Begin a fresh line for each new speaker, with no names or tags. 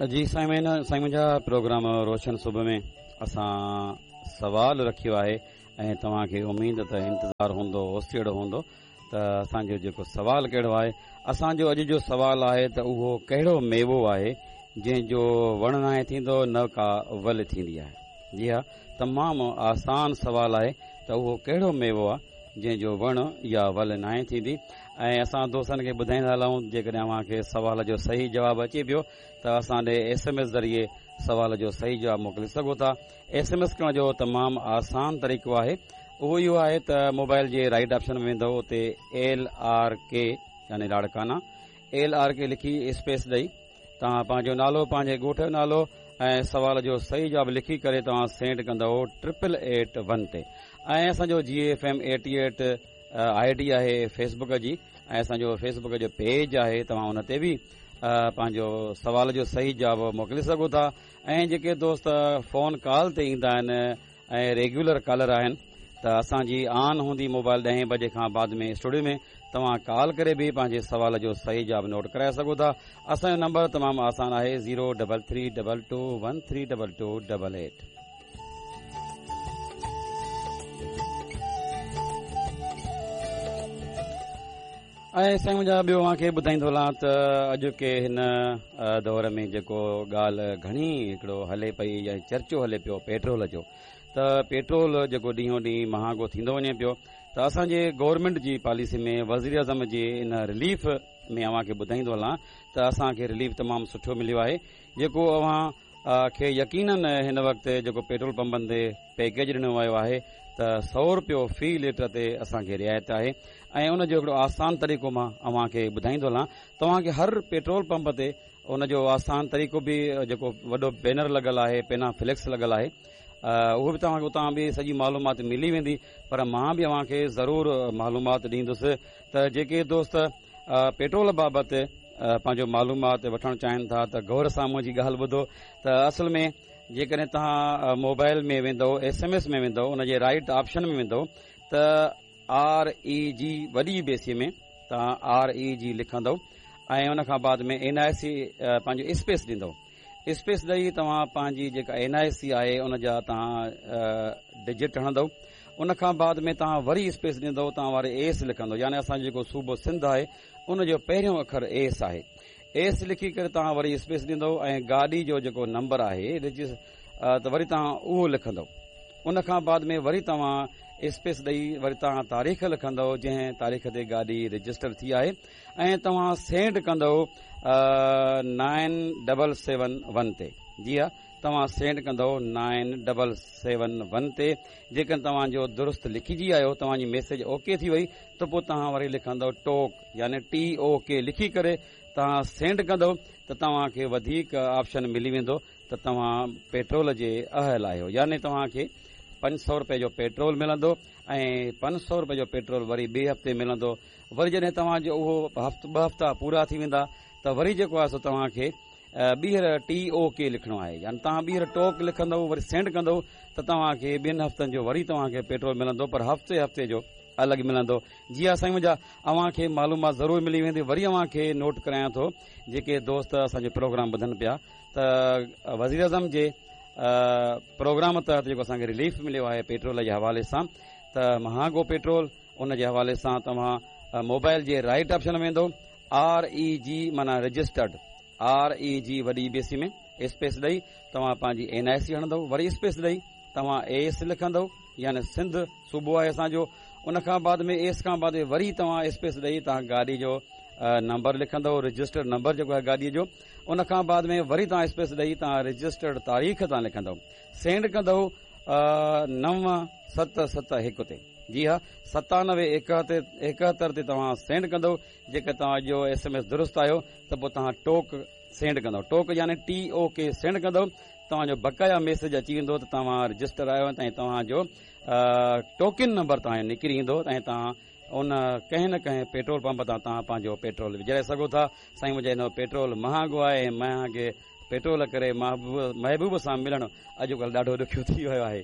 جي سائين سائين منهنجا پروگرام روشن صبح ۾ اسان سوال رکيو آهي ۽ توهان کي اميد ته انتظار هوندو اوسيئڙو هوندو ته اسان جو جيڪو سوال ڪهڙو آهي اسان جو اڄ جو سوال آهي ته اهو ڪهڙو ميوو آهي جنهن جو وڻ ناهي ٿيندو نه ڪا ول ٿيندي آهي جي ها تمام آسان سوال آهي ته اهو ڪهڙو ميوو آهي جنهن جو وڻ يا ول ناهي ٿيندي ۽ اسان دوستن کي ٻڌائيندا هلون جيڪڏهن اوهان کي سوال جو صحيح جواب اچي پيو ته اسان ڏي ايس ايم ايس ذريعي سوال جو صحيح جواب موڪلي سگهو ٿا ايس ايم ايس ڪرڻ جو تمام آسان طريقو آهي اهو اهو آهي ته موبائل جي رائيٽ آپشن ۾ ويندو اتي ايل آر ڪي يعني لاڙڪانا ايل آر ڪي لکي اسپيس ڏئي توهان پنهنجو نالو پنهنجي ڳوٺ جو نالو ۽ سوال جو صحيح جواب لکي ڪري توهان سينڊ ڪندؤ ٽرپل ايٽ ون تي ۽ اسان جو جي F M eighty eight I D آهي فيس بڪ جي ۽ اسان جو فيس بڪ جو پيج آهي توهان ان تي به پنهنجو سوال جو صحيح جواب موڪلي سگهو ٿا ۽ جيڪي دوست فون ڪال تي ايندا آهن ۽ ريگيولر ڪالر آهن ته اسان جي آن هوندي موبائل ڏهين بجي کان بعد ۾ اسٽوڊيو ۾ توهان ڪال ڪري به پنهنجي سوال جو صحيح جواب نوٽ ڪرائي سگهو ٿا اسان جو نمبر تمام آسان آهي zero double three double two one three double two double eight. ۽ سائين منهنجا ٻيو اوهان کي ٻڌائيندو هلان ته اڄوڪي هن دور ۾ جيڪو ڳالهه گهڻي هڪڙو هلي پئي يا چرچو هلي پيو پيٽرول جو ته پيٽرول جيڪو ڏينهون ڏينهن مهانگو ٿيندو وڃي پيو ته اسان جي گورنمينٽ جي پاليسي ۾ وزير اعظم جي ان رليف ۾ اوهان کي ٻڌائيندو هلان ته اسان کي رليف تمام سٺو مليو آهي جيڪو اوهان کي يقينن هن وقت جيڪو پيٽرول پمپن تي پيڪيج ڏنو ويو آهي ته سئو روپيو في ليٽر تي اسان کي رعايت آهي ۽ ان جو هڪڙو آسان طريقو مان اوهان کي ٻڌائيندو هلان توهان کي هر پيٽرول پمپ تي ان جو آسان طريقو به جيڪو وڏو بينر لڳل آهي پينا فليڪس لڳل آهي اهو به توهان کي اتان به سڄي معلومات ملي ويندي پر مان به اوهان کي ضرور معلومات ڏيندس ته جيڪي دوست پيٽرول بابت پنهنجو معلومات وٺڻ چاهين ٿا ته غور سان منهنجي ڳالهه ٻڌو ته اصل ۾ جيڪڏهن توهان موبائل ۾ ويندو ايس ايم ايس ۾ ويندو ان جي رائيٽ آپشن ۾ ويندو ته آر اي جي وڏي بيسي ۾ توهان آر اي جي لکندو ۽ ان کان بعد ۾ اين آء سي پنهنجو اسپيس ڏيندو اسپيس ڏئي توهان پنهنجي جيڪا اين آء سي آهي ان جا توهان ڊجٽ هڻندو ان کان بعد ۾ توهان وري اسپيس ڏيندو توهان واري ايس لکندو يعني اسان جو جيڪو صوبو سنڌ آهي ان جو پهريون اکر ايس آهي ايس لکي ڪري توهان وري اسپيس ڏيندو ۽ گاڏي جو جيڪو نمبر آهي ته وري توهان اهو لکندو ان کان بعد ۾ وري توهان اسپيس ڏئي وري توهان تاريخ لکندو جنهن تاريخ تي گاڏي رجسٽر ٿي آهي ۽ توهان سينڊ ڪندو نائن ڊبل سيون ون تي جي ها توهان سينڊ ڪندو نائن ڊبل سيون ون تي جيڪڏهن توهان جو درست لکجي آيو توهان جي ميسيج اوڪي ٿي وئي ته پوء توهان وري لکندو ٽوڪ يعني ٽي او ڪي لکي ڪري توهان سينڊ ڪندو ته توهان کي وڌيڪ آپشن ملي ويندو ته توهان پيٽرول جي اهل آهيو يعني توهان کي 500 روپئي جو پيٽرول ملندو ۽ 500 روپئي جو پيٽرول وري ٻئي هفتي ملندو وري جڏهن توهان جو اهو هفت ٻه هفتا پورا ٿي ويندا ته وري جيڪو آهي سو توهان کي ٻيهر ٽي او ڪي لکڻو آهي يعني توهان ٻيهر ٽوڪ لکندو وري سينڊ ڪندو ته توهان کي ٻن هفتن جو وري توهان کي پيٽرول ملندو پر هفتي هفتي جو الڳ ملندو جي ها سائين منهنجا اوهان کي معلومات ضرور ملي ويندي وري اوهان کي نوٽ ڪرايان ٿو جيڪي دوست اسان جو پروگرام ٻڌن پيا ته وزيراعظم جي پروگرام تحت جيڪو اسان کي رليف مليو آهي پيٽرول جي حوالي سان ته مهانگو پيٽرول ان جي حوالي سان توهان موبائل جي رائيٽ آپشن ۾ ويندو آر اي جي معنيٰ رجسٽرڊ آر اي جي وڏي بي سي ۾ اسپيس ڏئي توهان پنهنجي اين آء سي هڻندو وري اسپيس ڏئي توهان ايس لکندو يعني سنڌ صوبو آهي اسان جو ان کان بعد ۾ ايس کان بعد ۾ وري توهان اسپيس ڏئي توهان گاڏي جو نمبر لکندو رجسٽرڊ نمبر جيڪو آهي گاڏي جو ان کان بعد ۾ وري توهان اسپيس ڏئي توهان رجسٽرڊ تاريخ توهان لکندو سينڊ ڪندو 9 7 7 1 تي جي ها 97 71 تي توهان سينڊ ڪندو جيڪر توهان جو ايس ايم ايس درست آيو ته پوء توهان ٽوڪ سينڊ ڪندو ٽوڪ يعني ٽي او ڪي سينڊ ڪندو توهان جو بقايا ميسيج اچي ويندو ته توهان رجسٽر آهيو ۽ توهان جو ٽوڪن نمبر توهان جو نڪري ايندو ۽ توهان ان ڪنهن نه ڪنهن پيٽرول پمپ تان توهان پنهنجو پيٽرول وجهرائي سگهو ٿا سائين منهنجا هن پيٽرول مهانگو آهي ۽ مهانگي پيٽرول ڪري محبوب سان ملڻ اڄڪلهه ڏاڍو ڏکيو ٿي ويو آهي.